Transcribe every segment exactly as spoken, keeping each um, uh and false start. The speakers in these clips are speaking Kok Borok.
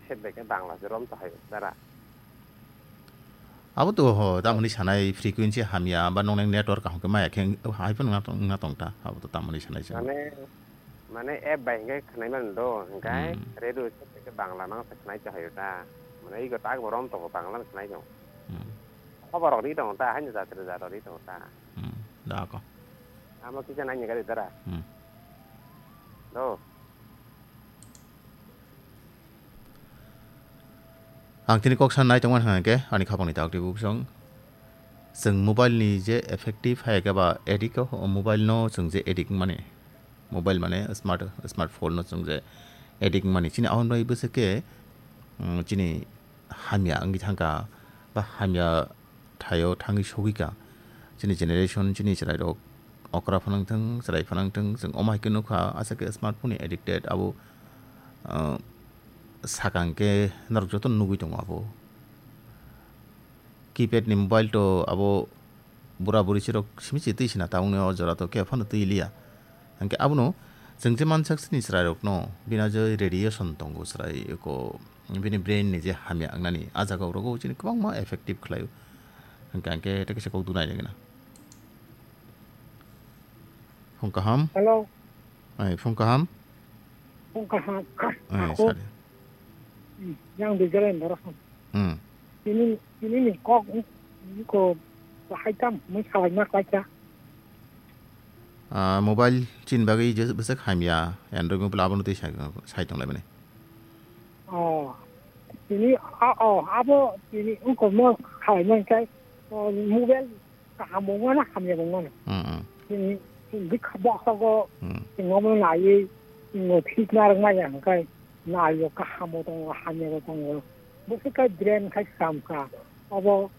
Set bai khe Bangla se rom to hai dara. Abo to ho, tamoni sanai frequency hamya, ba nong nang network kaham khe maya khe, hai phano wngna tong, wngna tong ta, abo to tamoni sanai se. Mane, mane app bai hingke khnai man do, hingkai Hmm. radio se ke Bangla nang se khnai cha hayo ta. Mane ego tak bo rom to Bangla khnai jo. Hmm. Khobor rok ri tong ta, haino jatri jatri ri tong ta. Hmm. Da ko. Amo kisa nai ni gari dara. Hmm. Do. Ang tini kok san nai tongmani hwnka khe ani khapangni dak twi bubsong. Chwng mobile ni je effective hai khe ba addict o, mobile no chwng je addict mani, mobile mane smart, smartphone no chwng je addict mani. Chini ahwn bai bwswk khe, mm, chini hamya wngwi thangkha ba hamya thaio thangwi sogwi ka. Chini generation, chini chwrairok okra phanang thung, chwrai phanang thung, chwng omo hai khe nukha, aswk khe smartphone ni addicted abo, ah, sakang khe norok joto nugwi tongo abo. Keypad ni mobile to abo bura buri sirok simi se twi sina tabukni o jora to khe phano twi liya. Hwnkhe abono chwng je mansak sini chwrairokno bini je radiation tongo chwrai ko bini brain ni je hamya wngnani a jaga o rogo chini kwbangma effective khlaio. Hwnkhe ang khe tei kaisa kok dunai nangina. Phung kaham. Hello. Ai, phung kaham. Phung kaham. Ai, Ako. Sari. Hmm, yang di jalan darasam. Hmm. Ini, ini ni kok, ini ko bahai tam, mui salai mak baca. Ah, mobile chin bagwi je bwswk hamya, Android mobile abono twi sai, sai tong lai mani. Oh. Ini, oh, oh, abo, ini ungko mo salai mak kai, oh, mobile kaham bo wngmano, hamya bo wngmano. Mm, mm. Chini, chini bikha boksago, Mm. chini omo naiwi, chini thik narwk maya hwnkhe, naiyo kaham bo tongo, hamya bo tongo. Bwswk khe brain khai swkam kha. Obo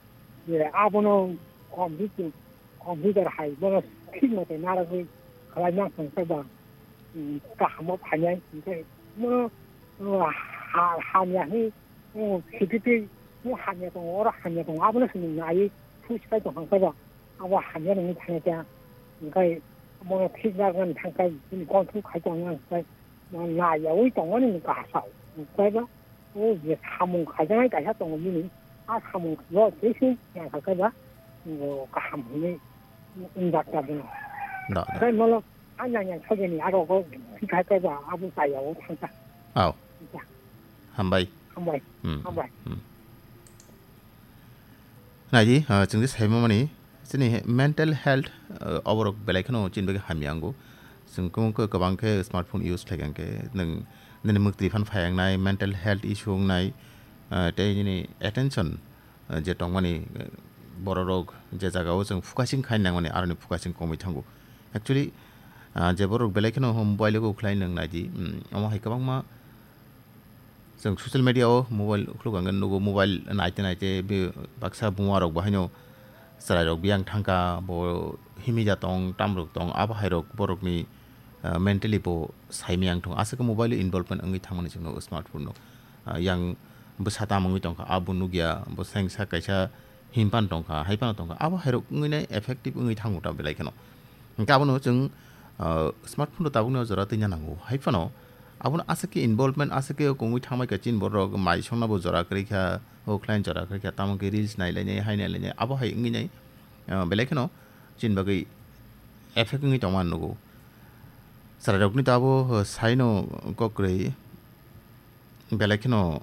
je abono computer, computer hai bono thik mote narwgwi khlai nang thangkhe ba, mm, kaham bo phainai. Hwnkhe bono, uh, ha-, hamya hwnwi O, sititwi, o hamya tongo, oro hamya tongo, abono chwng naiwi thuis khai tongkha khe ba, abo hamya nungwi thangya khe, hwnkhe bono thik narwknani thangkhe, bini control khai tongya hwnkhe, bo naiyaui tongmani kahasa, hwnkhe ba, o je samung khaijaknai kaisa tongo bini, a samung no tei se nangkha khe ba, o kaham hwnwi wngjak ta bono. Da, da. Hwnkhe bono, a nang yang sajani aro go thik khai khe ba, abo chaya o thangkha. Au. Hambai. Hambai. Hmm. Hambai. Hmm. Naidi, ah, chwng je saimamani, chini mental health, ah, oborok belai kheno chini bagwi hamya wngo. Chwng kwbang khe, kwbang khe smartphone use khlai kha hwnkhe, nwng nini mwktwi phan phai wngnai, mental health issue wngnai, ah, tei nini attention, ah, je tongmani, ah, bororok je jagao chwng focusing khai nangmani, aroni focusing komwi thango. Actually, ah, je borok belai kheno mobile o khlai nwng naidi, hmm, omo hai kwbangma Chwng social media o mobile khuluk ang nugo, mobile naite naite be baksa buma rok bo haino chwrai rok biyang thangkha, bo himija tong, tamrok tong, abo hai rok borok ni, ah, mentally bo saimiyang thung. Aswk mobile o involvement wngwi thangmani chwng nugo smartphone no. Ah, yang bwsa tam wngwi tongkha, abo nugya, bo sengsa kaisa himpan tongkha, haiphano tongkha, abo hairok wngwi nai effective wngwi thango ta belai kheno. Hwnkhe abono chwng, ah, smartphone rok tabukni o jora twina nango, haiphano abono aswk khe involvement, aswk khe kongwi thangbai kha chini borok mai songna bo jora kwrwi kha, o khlain jora kwrwi kha, tamo khe reels nai lainai, hai nai lainai, abo hai wngwi nai, ah, belai kheno chini bagwi effect wngwi tongma nugo. Chwrairokni to abo, ah, saino kok kwrwi. Belai kheno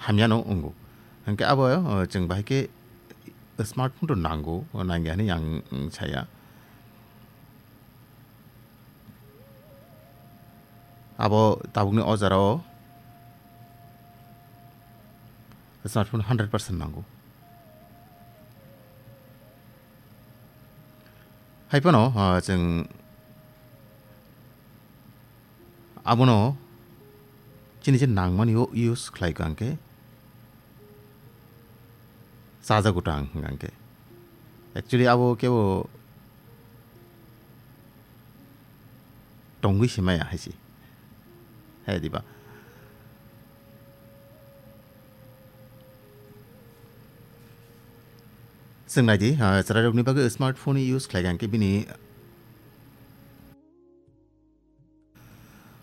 hamyano wngo. Hwnkhe abo, o, chwng bahai khe smartphone rok nango, o, nangya hinwi ang, mm, saya. Abo tabukni o jora o smartphone hundred percent nango. Haiphano, o, chwng Abono chini je nangmani o use khlai kha hwnkhe chajago ta ang hwnkha hwnkhe. Actually abo kebo tongwi se maya hai se. Hai diba? Chwng nai di, ah, chwrairokni bagwi smartphone use khlai kha hwnkhe bini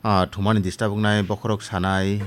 Ah, thumani disturb wngnai, bokhorok sanai,